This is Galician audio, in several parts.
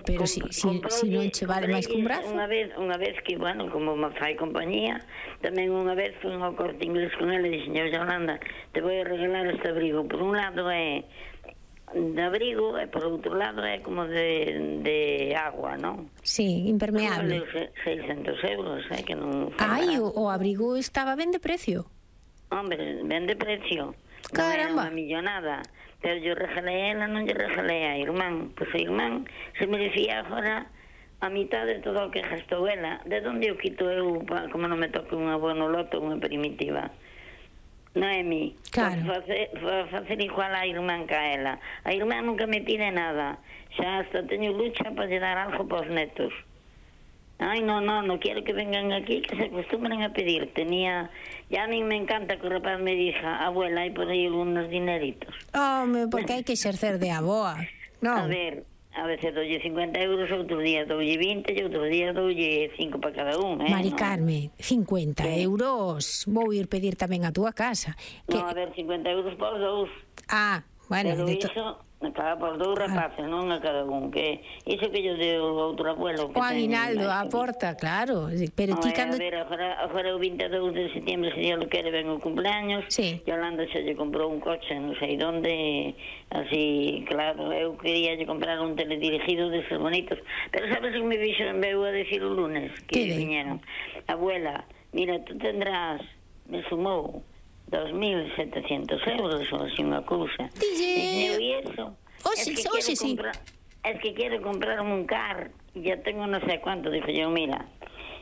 pero si non che vale máis que un brazo. Unha vez que, bueno, como me fai compañía, tamén unha vez fui ao Corte Inglés con ele e dixen, Yolanda, te voy a regalar este abrigo. Por un lado é de abrigo e por outro lado é como de agua, non? Sí, impermeable. Vale 600 euros, que non... Ai, o abrigo estaba ben de precio. Hombre, ben de precio. Caramba. Non era unha millonada. Pero yo regalé a ela, non lle regalé a irmán. Pois a irmán se merecía agora a mitad de todo o que gastou ela. De onde o quito eu, como non me toque unha bono loto, unha primitiva? Noemi, claro. Facer igual a irmán que a ela. A irmán nunca me pide nada. Xa hasta teño lucha para lle dar algo para os netos. Ay, no quiero que vengan aquí, que se acostumbren a pedir. Ya a mí me encanta que o rapaz me diga, abuela, hai por aí algunos dineritos. Home, porque hai que exercer de aboa, non? A veces doulle 50 euros, outros días doulle 20 e outros días doulle 5 para cada un, Mari Carmen, 50 euros vou ir pedir tamén a túa casa. Non, a ver, 50 euros por dous. Ah, bueno. Pero iso... Cada por dous rapaces, non a cada un, que iso que yo deu outro abuelo. O aguinaldo a porta, claro. Pero ti cando... A ver, agora o 22 de setiembre, se Dios lo quere, ven o cumpleaños. Sí. Yolanda se lle comprou un coche, non sei onde, así, claro, eu quería lle comprar un teledirigido deses bonitos. Pero sabes que me veu a decir o lunes, que viñeron. Abuela, mira, tú tendrás, me sumou 2.700 euros ou así unha cousa. E iso es que quiero comprarme un car e ya tengo no sé cuánto. Dije yo, mira,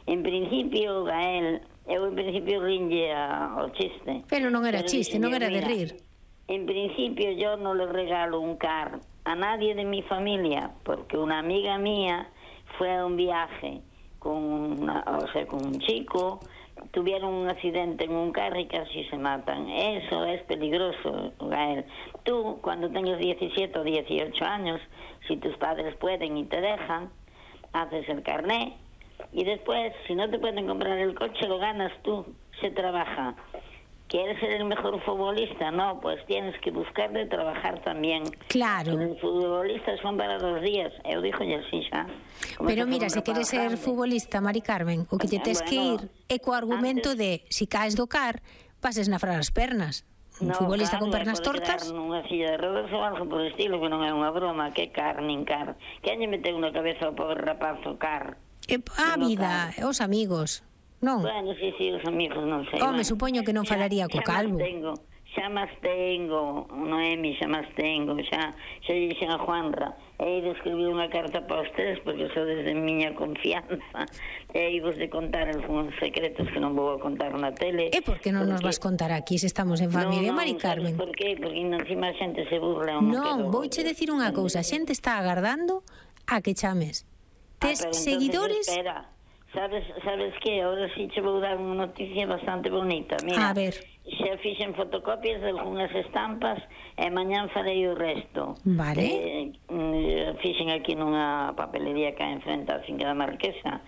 en principio Gael, eu en principio rinlle ao chiste, pero non era chiste, non era de rir. En principio yo no le regalo un car a nadie de mi familia, porque una amiga mía fue a un viaje con un chico, tuvieron un accidente en un carro y casi se matan. Eso es peligroso, Gael. Tú, cuando tengas 17 o 18 años, si tus padres pueden y te dejan, haces el carné y después, si no te pueden comprar el coche, lo ganas tú, se trabaja. ¿Quieres ser el mejor futbolista? No, pues tienes que buscar de trabajar también. Claro. Los futbolistas son para 2 días. Eu dixo así xa. Pero mira, se queres ser futbolista, Mari Carmen, o que te tes que ir é co argumento de, si caes do car, pases na frar as pernas. Un futbolista con pernas tortas? Nunha silla de rodas ou algo por estilo, que non é unha broma. Que car, nin car. Que lle meteu na cabeza ao pobre rapaz o car? A vida, os amigos. Non? Bueno, sí, os amigos, non sei. Home, supoño que non falaría co calvo. Xa máis tengo, Noemi, xa máis tengo, xa dixen a Juanra, e de escribir unha carta para os tres, porque só desde miña confianza, e vos de contar algúns secretos que non vou a contar na tele. E por que non nos vas contar aquí, se estamos en familia, Mari Carmen? Por qué? Porque encima a xente se burla. Non, vouche decir unha cousa, a xente está agardando a que chames. Tes seguidores... Sabes que ahora sí che vou dar unha noticia bastante bonita. Mira, a ver. Xa fixen fotocopias de algunhas estampas e mañán farei o resto. Vale. Fixen aquí nunha papelería que hai enfrente a finca da Marquesa,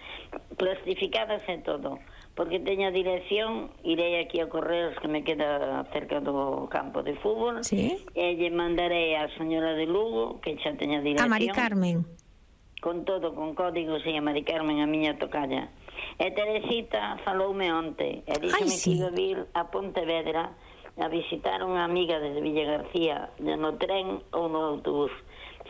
plastificadas e todo, porque teño a dirección, irei aquí a Correos, que me queda cerca do campo de fútbol, sí. E lle mandarei a señora de Lugo, que xa teña dirección. A Mari Carmen. Con todo, con códigos, e a Mari Carmen, a miña tocalla. E Teresita faloume onte, e díxeme que iba a vir a Pontevedra a visitar unha amiga desde Villa García, no tren ou no autobús.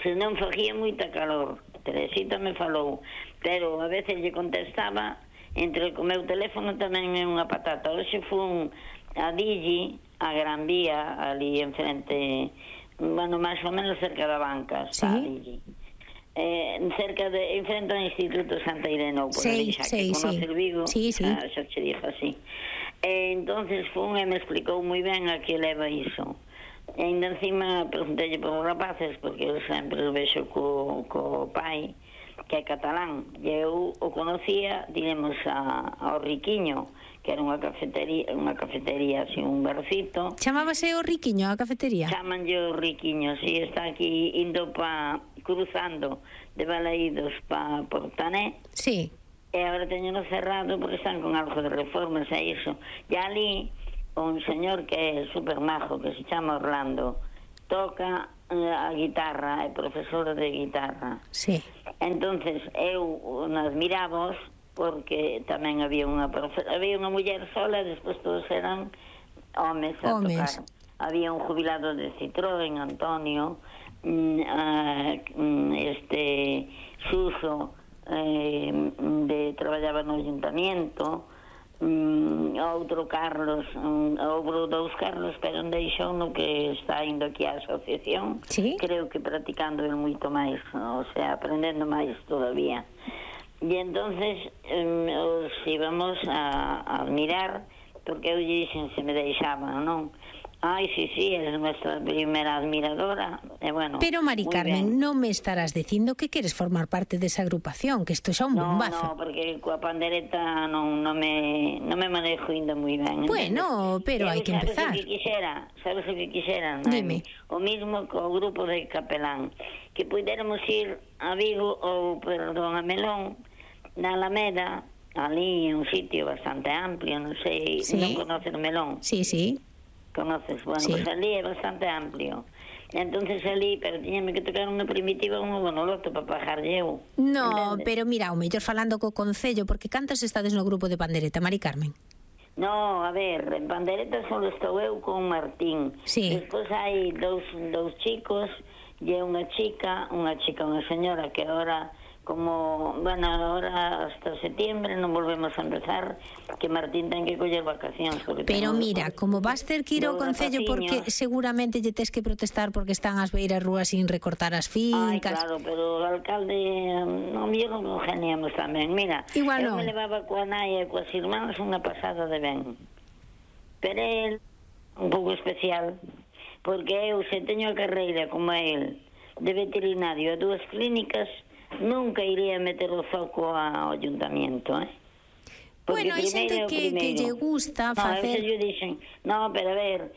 Se non facía moita calor, Teresita me falou, pero a veces lle contestaba, entre o meu teléfono tamén é unha patata. Hoxe fun a Digi, a Gran Vía, ali enfrente, bueno, máis ou menos cerca da banca, está a Digi. Cerca de enfrente ao Instituto Santa Irene, por ali, xa que conoce el Vigo, xa che dixo así. Entonces fun e me explicou moi ben a que leva iso. E ainda encima preguntelle por os rapaces, porque eu sempre o vexo co pai, que é catalán, e eu o conocía, diremos, ao Riquiño, que era unha cafetería, así, un barcito. Chamábase o Riquiño, a cafetería? Chamanlle o Riquiño, si, está aquí indo cruzando de Balaídos pa Portané. Sí. E agora teñeno cerrado porque están con algo de reformas e iso. E ali un señor que é super majo, que se chama Orlando, toca a guitarra, é profesora de guitarra. Sí. Entonces eu admirábos porque tamén había unha muller sola e despois todos eran homes a tocar. Había un jubilado de Citroën, Antonio, Suso, traballaba no ayuntamiento, outro Carlos, houve dous Carlos, pero un deixou no que está indo aquí á asociación, ¿sí? Creo que practicando el moito máis, o sea, aprendendo máis todavía. E entonces os íbamos a admirar, porque eu lle dixen se me deixaban, non? Ai, sí, eres nuestra primeira admiradora. Bueno, pero, Mari Carmen, non me estarás dicindo que queres formar parte desa agrupación, que isto xa un bombazo. No, porque coa pandereta non me manejo ainda moi ben. Bueno, pero hai que empezar. Sabes o que quixera? Dime. O mismo co grupo de Capelán, que puidéramos ir a Vigo ou, perdón, a Melón, na Alameda, ali un sitio bastante amplio, non sei, sí. Non conoces Melón? Sí. Conoces, bueno, sí. Pues ali é bastante amplio. Entonces ali, pero tiñame que tocar unha primitiva un monoloto para pajarlle eu. No, ¿entendes? Pero mira, o mellor falando co Concello, porque cantas estades no grupo de pandereta, Mari Carmen? No, a ver, en pandereta só estou eu con Martín. Sí. Despois hai dous chicos e unha chica, unha señora que agora ahora hasta septiembre non volvemos a empezar, que Martín ten que coller vacacións. Pero mira, como vas ter que ir ao Concello porque seguramente lle tes que protestar porque están as beiras rúas sin recortar as fincas. Ai, claro, pero o alcalde non lo geniamos tamén. Mira, igual eu me levaba coa nai e coas irmáns unha pasada de ben. Pero el, un pouco especial, porque eu se teño a carreira como a el de veterinario a 2 clínicas, nunca iría meter o foco ao ayuntamiento, Porque bueno, hai xente que lle gusta facer... Eu dixen, pero a ver,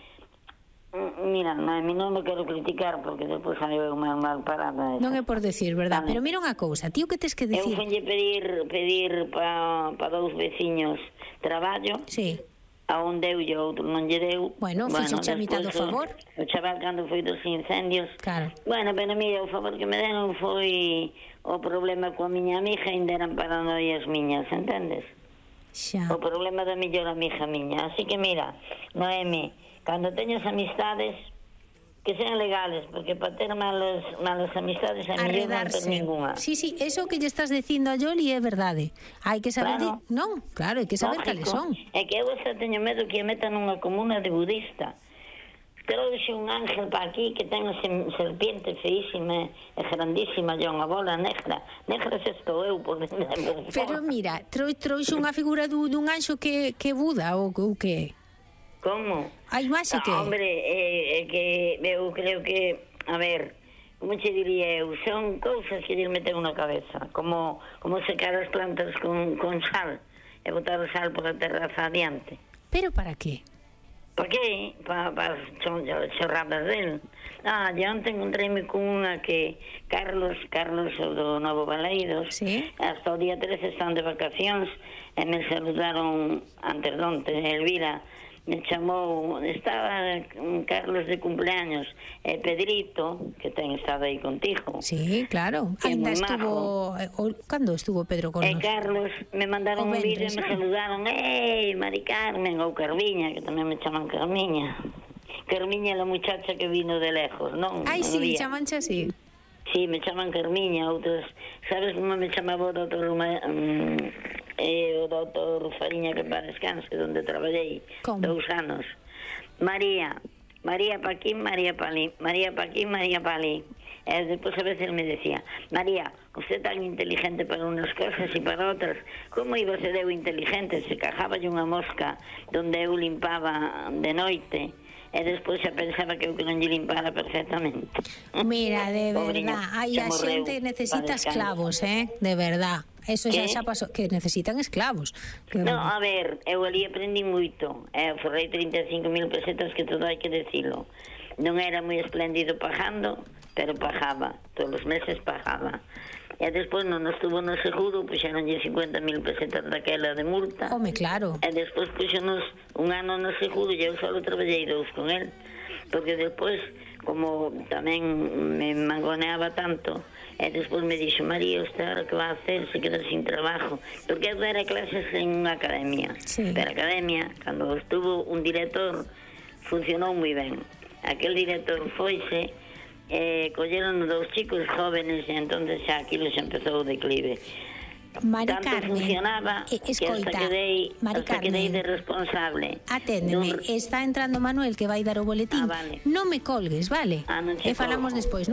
mira, a mí non me quero criticar porque depois hai unha mal parada. Non é por decir, verdad? Pero mira unha cousa, tío, que tes que decir? Eu fonlle pedir para 2 veciños traballo. Sí. A un deu e outro non lle deu. Bueno, fixo a mitad do favor. O chaval cando foi dos incendios. Claro. Bueno, pero mira, o favor que me deron foi o problema coa miña amiga, ainda eran paranoias miñas, entendes? Xa. O problema da mellor amiga miña. Así que mira, Noemi, cando teñas amistades que sean legales, porque para ter malas amistades a mellor non ter ninguna. Sí, eso que lle estás dicindo a Yoli é verdade. Hai que saber, non, claro, hai que saber cales son. É que eu teño medo que a metan nunha comuna de budista. Trouxe un ángel para aquí que ten serpiente feísima e grandísima, e unha bola negra se estou eu por dentro. Pero mira, trouxe unha figura dun anxo que Buda ou que... Como? A imaxe que... Hombre, que eu creo que, a ver, como che diría eu, son cousas que lle meten na cabeza, como secar as plantas con sal e botar o sal pola terraza adiante. Pero para qué? Para qué? Para chorradas del. E onte encontréme con unha que Carlos do Novo Baleiros, ¿sí? Hasta o día 13 están de vacacións e me saludaron antes donte, Elvira me chamou, estaba Carlos de cumpleaños, e Pedrito, que ten estado aí contigo. Sí, claro. Ainda estuvo... Cando estuvo Pedro con nós? E Carlos me mandaron un vídeo e me saludaron, Mari Carmen, ou Carmiña, que tamén me chaman Carmiña. Carmiña é a muchacha que vino de lejos, non? Ai, sí, chamanche así. Sí, me chaman Carmiña, outros... Sabes como me chamaba o doutor... o doutor Fariña, que para descanse, onde traballei 2 anos. María Paquín, María Palí. E despois a veces me decía, María, usted tan inteligente para unas cosas e para outras, como iba a ser eu inteligente? Se cajaba unha mosca donde eu limpaba de noite, e despois xa pensaba que eu que non lle limpara perfectamente. Mira, de verdad, hai a xente necesita esclavos, de verdad. Eso xa pasou, que necesitan esclavos. No, a ver, eu ali aprendi moito. Forrei 35.000 pesetas, que todo hai que decilo. Non era moi espléndido pagando, pero pagaba. Todos os meses pagaba. E despois non estuvo no seguro, puxeronlle 50.000 pesetas daquela de multa. Home, claro. E despois puxenos un ano no seguro e eu só traballei 2 con el. porque despois, como tamén me mangoneaba tanto, e despois me dixo, María, usted ahora que va a hacer se queda sin trabajo, porque eu era clases en unha academia, pero a academia, cando estuvo un director, funcionou moi ben. Aquel director foise, colleron dos chicos jóvenes, e entonces xa aquilo xa empezou o declive. Mari Tanto Carmen, funcionaba escoita, hasta quedei de responsable. Aténdeme, está entrando Manuel que vai dar o boletín. Vale. Non me colgues, vale? Non che E falamos colgo. despois.